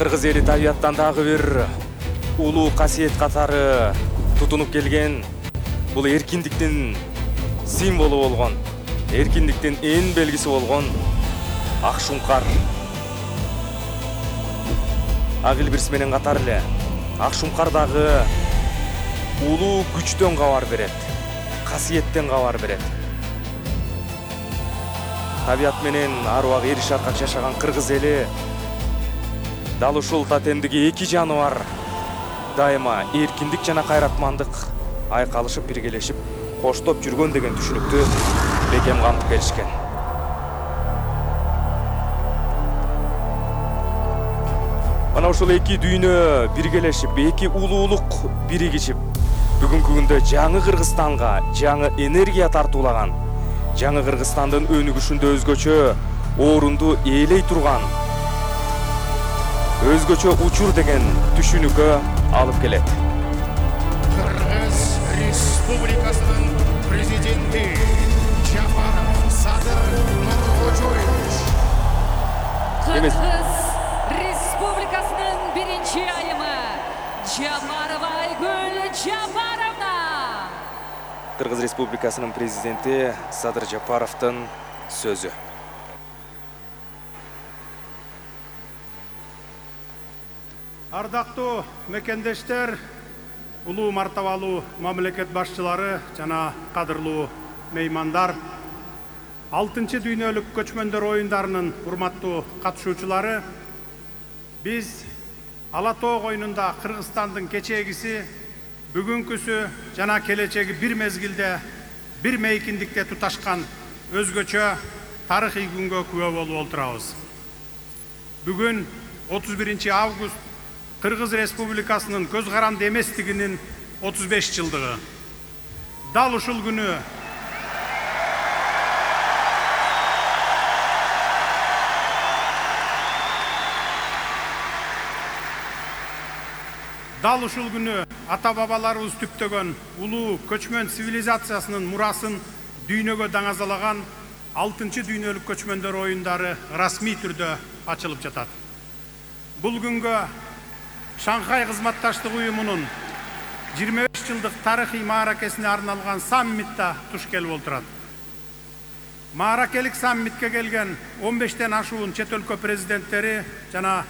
Кыргыз эли табияттан дагы бир улуу касиет катары тутунуп келген. Бул эркиндиктин символу болгон, эркиндиктин эң белгиси болгон ак шуңкар. Ак илбирс менен катар эле ак шуңкар дагы улуу күчтөн кабар берет, касиеттен кабар берет. Табият менен ар убак эри шаркак жашаган кыргыз эли дал ушул тотемдиги эки жаны бар дайыма эркиндик жана кайратмандык айкалышып биргелешип коштоп жүргөн деген түшүнүктү бекем камтып келишкен. Мына ушул эки дүйнө биргелешип, эки улуулук биригишип, бүгүнкү күндө жаңы Кыргызстанга жаңы энергия тартуулаган, жаңы Кыргызстандын өнүгүшүндө өзгөчө орунду ээлей турган, өзгөчө учур деген түшүнүккө алып келет. Кыргыз Республикасынын президенти Жапаров Садыр Нуркожоевич. Эмес. Кыргыз Республикасынын биринчи айымы Жапарова Айгүл Жапаровна. Кыргыз Республикасынын президенти Садыр Жапаровдун сөзү. Ардактуу мекендештер, улуу мартабалуу мамлекет башчылары жана кадырлуу меймандар, 6 дүйнөлүк көчмөндөр оюндарынын урматтуу катышуучулары, биз Ала Тоо коюнунда Кыргызстандын кечегиси, бүгүнкүсү жана келечеги бир мезгилде, бир мейкиндикте туташкан өзгөчө тарыхый күнгө күбө болуп отурабыз. Бүгүн 31 август Кыргыз Республикасынын көз каранды эместигинин 35 жылдыгы. Дал ушул күнү ата бабаларыбыз түптөгөн улуу көчмөн цивилизациясынын мурасын дүйнөгө даңазалаган 6 дүйнөлүк көчмөндөр оюндары расмий түрдө ачылып жатат. Бул күнгө Шанхай кызматташтык уюмунун 25 жылдык тарыхый мааракесине арналган саммитта туш келип отурат. Мааракелик саммитке келген 15тен ашуун чет өлкө президенттери жана